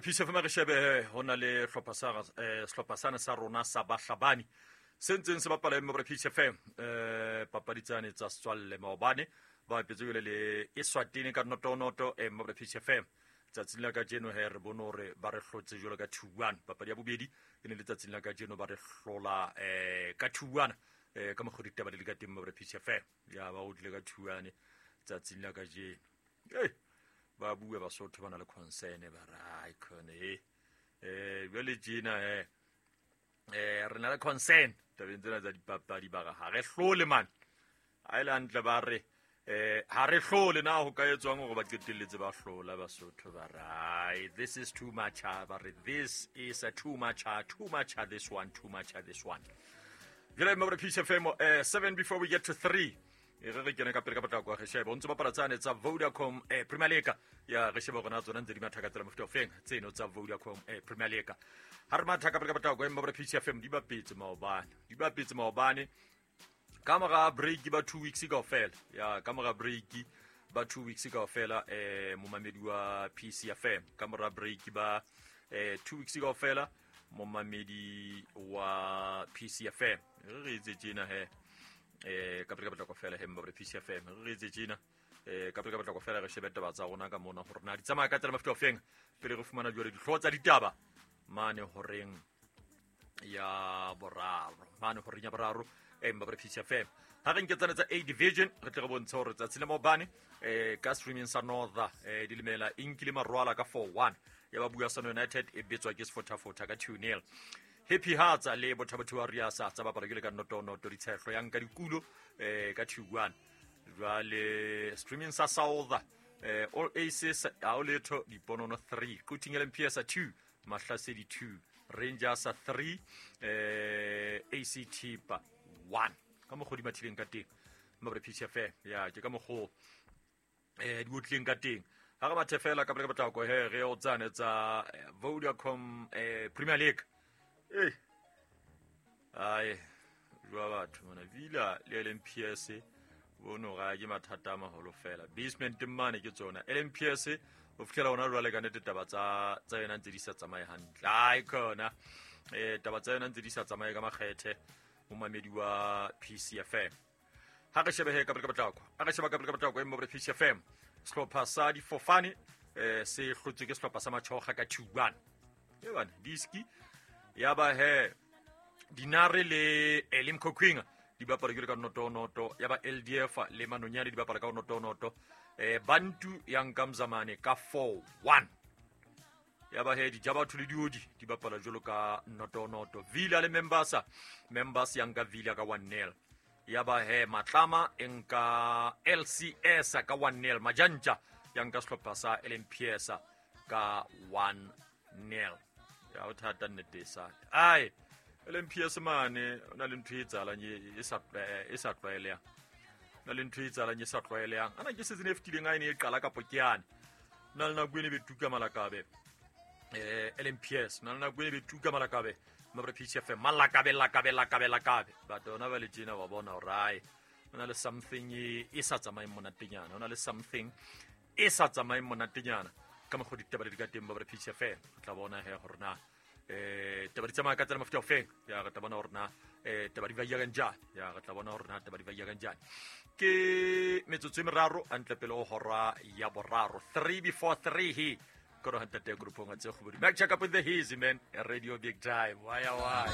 Peace FM re shebe ho na le hlopha sa sehlopha sane sa rona sa bahlabani se ntseng se bapala mmabre Peace FM papadi tsane tsa setswalle maobane ba bapetse jwale le Eswatini ka noto-noto mmabre Peace FM. Tsatsing la kajeno he re bone hore ba re hlotse jwalo ka 2-1. Papadi ya bobedi e ne le tsatsing la kajeno ba re hlola ka 2-1 ka mokgwa ditaba di le ka teng mmabre Peace FM. Ya ba o tlile ka 2-1 tsatsing la kajeno. Ei, ba bua Basotho ba na le concern ba re ai khone e jwale tjena re na le concern tabeng tsena tsa dipapadi ba re ha re hlole man. Ha e le hantle ba re ha re hlole na ho ka etswang hore ba qetelletse ba hlola Basotho ba re ai this is too much ba re this is a too much too much this one too much this one. Jwale mmabre Peace FM 7 before we get to 3. E re re kene ka pele ka potlako re shebe o ntse bapala tsane tsa Vodacom Premier League ya re shebe gona tsona ntse di matha ka tsela mofuta ofeng tseno tsa Vodacom Premier League. Ha re matha ka pele ka potlako mmabre Peace FM di bapetse maobane ka mora break ba 2 weeks kaofela ya ka mora break ba 2 weeks kaofela momamedi wa Peace FM ka mora break ba 2 weeks kaofela momamedi wa Peace FM re re etse tjena he ka pele ka potlako fela he mmabre Peace FM re etse tjena ka pele ka potlako fela re shebe taba tsa rona ka mona hore na di tsamaya ka tsela mofuta ofeng pele re fumana jwale dihlooho tsa ditaba mane horeng ya boraro mane horeng ya boraro mmabre Peace FM. Ha re nke tsane tsa A division re tle re bontshe hore tsatsi le maobane ka streaming sa North dilemela e nkile marwala ka 4-1 ya ba bua Sano United e betswa ke Sefotafota ka 2-0. Happy Hearts le Bothabotho wa Riasa tsa bapala ke le ka noto-noto ditshehlo ya nka dikulo ka 2-1. Jwale streaming sa South All Aces ha o letho diponono 3 Quthing LMPS 2 Mahlasedi 2 Rangers 3 AC Thipa 1. Ka mokgwa di mathileng ka teng mmabre Peace FM ya ke ka mokgwa di otlileng ka teng. Ha re mathe fela ka pele ka potlako he re o tsane tsa Vodacom Premier League. Ai jwa batho mona Villa le LMPS bono ga ke mathata a maholo fela. Basement mane ke tsona LMPS o fitlhela ona jwale ka nnete taba tsa yona ntse di sa tsamaye hantle. Ai khona taba tsa yona ntse di sa tsamaye ka makgethe momamedi wa Peace FM. Ha re shebe he ka pele ka potlako. Ha re sheba ka pele ka potlako mmabre Peace FM. Sehlopha sa difofane se hlotswe ke sehlopha sa Machoga ka 2-1. E bana diski ya ba he Dinare le Elim Kokwinga di bapala ke ka noto-noto ya ba LDF le Manonyane di bapala ka noto-noto Bantu ya nka Mzamane ka 4-1. Ya ba he Dijabatho le Diodi di bapala jwalo ka noto-noto. Villa le Membasa, Membasa ya nka Villa ka 1-0. Ya ba he Matlama e nka LCS ka 1-0. Majantja ya nka sehlopha sa LMPS ka 1-0. Ya o thata nnete sa. Ai LMPS mane o na le ntho e etsahalang e sa tlwaelehang. Na le ntho e etsahalang e sa tlwaelehang. Ana ke season e fetileng a e ne e qala kapo ke yane. Na le nako e ne be tuka malakabe. LMPS na le nako e ne be tuka malakabe. Mmabre Peace FM malakabe lakabe lakabe lakabe. But ona ba le tjena ba bona hore ai o na le something e sa tsamaeng monatenyana. O na le something e sa tsamaeng monatenyana. Ka mokgwa ditaba di ka teng mmabre Peace FM. O tla bona he hore na taba di tsamaya ka tsela mofuta ofeng. Ya re tla bona hore na taba di ba ya kanjani. Ya re tla bona hore na taba di ba ya kanjani. Ke metsotso e meraro hantle pele ho hora ya boraro 3 before 3 he. Koro hantle teng groupong tse kgobodi. Mac check up with the Hazy man. Radio Big Time. Waya waya.